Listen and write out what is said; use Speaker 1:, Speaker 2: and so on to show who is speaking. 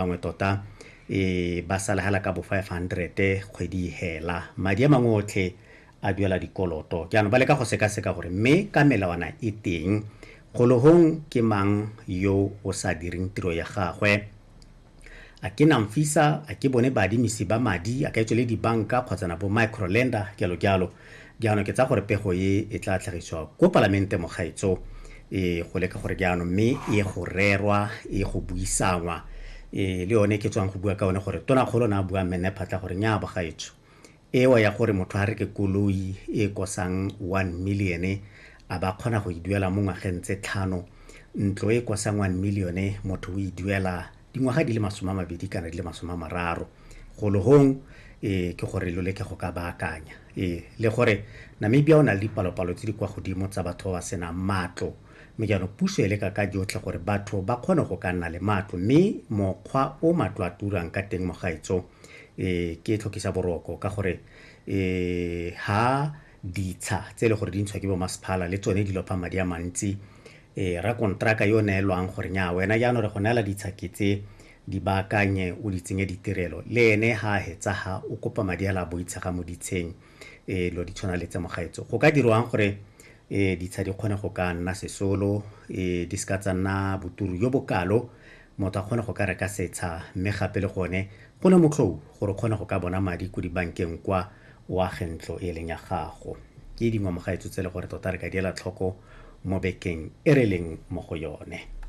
Speaker 1: Bangwe tota e ba sala hela ka bo 500 kgwedi e hela. Madi a mangwe otlhe a duela dikoloto. Jaanong ba leka go sekaseka gore mme ka melawana e teng, golohong ke mang yo o sa direng tiro ya gagwe. A ke Namfisa, a ke bone baadimisi ba madi, a ka etswe le dibanka kgotsana bo microlender, jalo jalo. Jaanong ke tsaya gore pego e e tla tlhagiswa ko palamente mogaetso e go leka gore jaanong mme e go rerwa, e go buisangwa. E le yone ke tswang go bua ka one gore tonakgolo na bua mme phatla gore nya bogaetso. Ewa ya gore motho a reke koloi e kosang 1 million a ba kgona go e duela mo ngwageng tse 5, ntlo e kosang 1 million motho o e duela dingwaga di le 20 kana di le 30. Golohong e ke gore lo leke go ka baakanya. E le gore Namibia o na le dipalopalo tse di kwa godimo tsa batho ba ba senang matlo, mme jaanong puso e leka ka jotlhe gore batho ba kgone go ka nna le matlo, mme mokgwa o matlo a turang ka teng mogaetso e ke tlhokisa boroko ka gore e ha ditsha tse e le gore di ntshwa ke bo masepala le tsone di lopa madi a mantsi. E rakontraka yo neelwang gore nya wena jaanong re go neela ditsha ke tse di baakanye o di tsenye ditirelo, le ene ha a hetsa ha o kopa madi a la boitshega mo ditsheng. E lo di tshwana le tse mogaetso. Go ka dirwang gore e ditsha di kgone go ka nna sesolo, e di seka tsa nna boturu jo bokalo, motho a kgone go ka reka setsha, mme gape le gone go ne motlhou gore o kgone go ka bona madi ko dibankeng kwa o age ntlo e leng ya gago. Ke dingwe mogaetso tse le gore tota re ka diela tlhoko mo bekeng e re leng mo go yone.